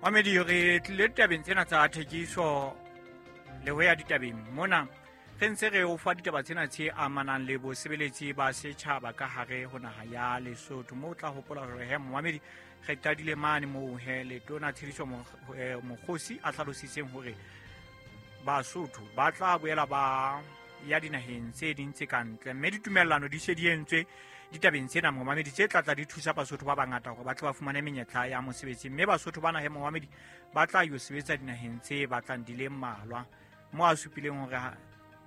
Mamedi, re tlile ditabeng tsena tsa thekiso le ho ya ditabeng mona. Re ntse re o fa ditaba tsena tse amanang le bosebeletsi ba setjhaba ka hare ho naha ya Lesotho. Moo o tla hopola hore he momamedi, re qadile mane moo he letona Tshediso Mokgosi a hlalositseng hore Basotho ba tla boela ba ya dinaheng tse ding tse ka ntle, mme ditumellano di se di entswe ditabeng tsena, momamedi, tse tlatla di thusa Basotho ba bangata hore ba tle ba fumane menyetla ya mosebetsi. Mme Basotho ba nahe, momamedi, ba tla yo sebetsa dinaheng tse batlang di le mmalwa, mo a supileng hore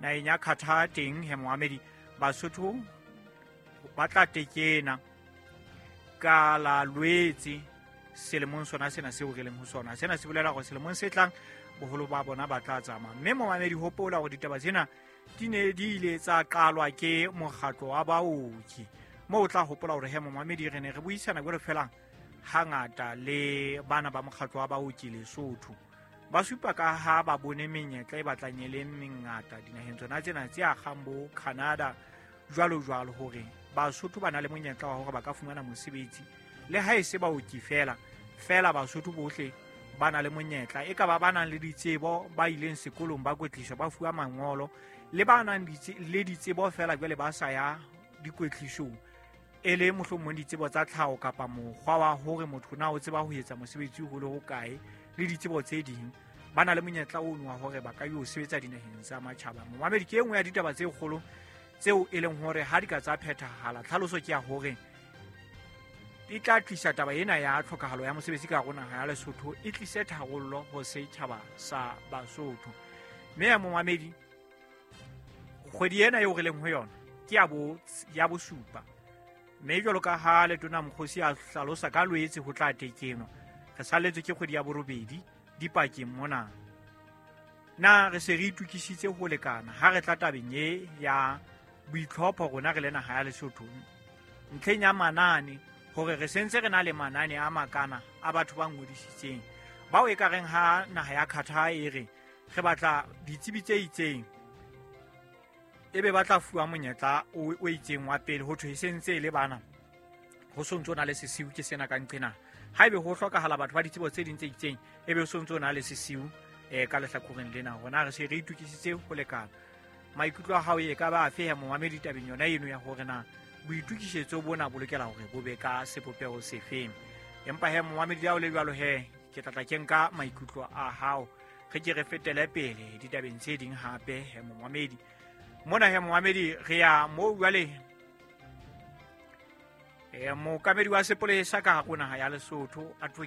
naheng ya Qatar teng he, momamedi, Basotho ba tla tekena ka la Lwetse selemong sona sena seo re leng ho sona. Sena se bolela hore selemong se tlang boholo ba bona ba tla tsamaya. Mme momamedi, hopola hore ditaba tsena di ne di ile tsa qalwa ke mokgatlo wa baoki, moo o tla hopola hore he momamedi, re ne re buisana jwalo fela hangata le bana ba mokgatlo wa baoki Lesotho. Ba supa ka ha ba bone menyetla e batlang e le mengata dinaheng tsona tsena tse akgang bo Canada jwalo jwalo, hore Basotho ba na le monyetla wa hore ba ka fumana mosebetsi, le ha e se baoki fela fela, Basotho bohle ba na le monyetla, e ka ba ba nang le ditsebo, ba ileng sekolong, ba kwetliswa, ba fuwa mangolo, le ba nang le ditsebo fela jwale ba sa ya dikwetlisong, e le mohlomong ditsebo tsa tlhaho kapa mokgwa wa hore motho na o tseba ho etsa mosebetsi ho le hokae, le ditsebo tse ding, ba na le monyetla ono wa hore ba ka yo sebetsa dinaheng tsa matjhaba. Momamedi, ke e nngwe ya ditaba tse kgolo tseo e leng hore ha di ka tsa phethahala, tlhaloso ke ya hore e tla tlisa taba ena ya tlhokahalo ya mosebetsi ka rona ya Lesotho, e tlise tharollo ho setjhaba sa Basotho. Mme ya momamedi, kgwedi ena eo re leng ho yona ke ya bosupa, mme jwalo ka ha letona Mokgosi a hlalosa ka Lwetse ho tla tekenwa, re salletswe ke kgwedi ya borobedi dipakeng mona. Na re se re itukisitse ho lekana ha re tla tabeng e ya boitlhopho rona re le naha ya Lesotho ntlheng ya manane, hore re sentse re na le manane a makana a batho ba ngodisitseng bao e ka reng ha naha ya Qatar e re re batla ditsebi tse itseng, ebe ba tla fuwa monyetla o itseng wa pele, ho thwe e sentse e le bana, ho sontse o na le sesiu ke sena ka nqena? Ha ebe ho hlokahala batho ba ditsebo tse ding tse itseng, ebe o sontse o na le sesiu ka lehlakoreng lena? Rona re se re itukisitse ho lekana? Maikutlo a hao e ka ba afe ya momamedi tabeng yona eno ya hore na boitukisetso bona bo lokela hore bo be ka sebopeho sefeng? Empa he momamedi, ya o le jwalo he, ke tlatla ke nka maikutlo a hao, re ke re fetele pele ditabeng tse ding hape. He momamedi, mona he momamedi, re ya moo jwale mookamedi wa sepolesa ka hare ho naha ya Lesotho.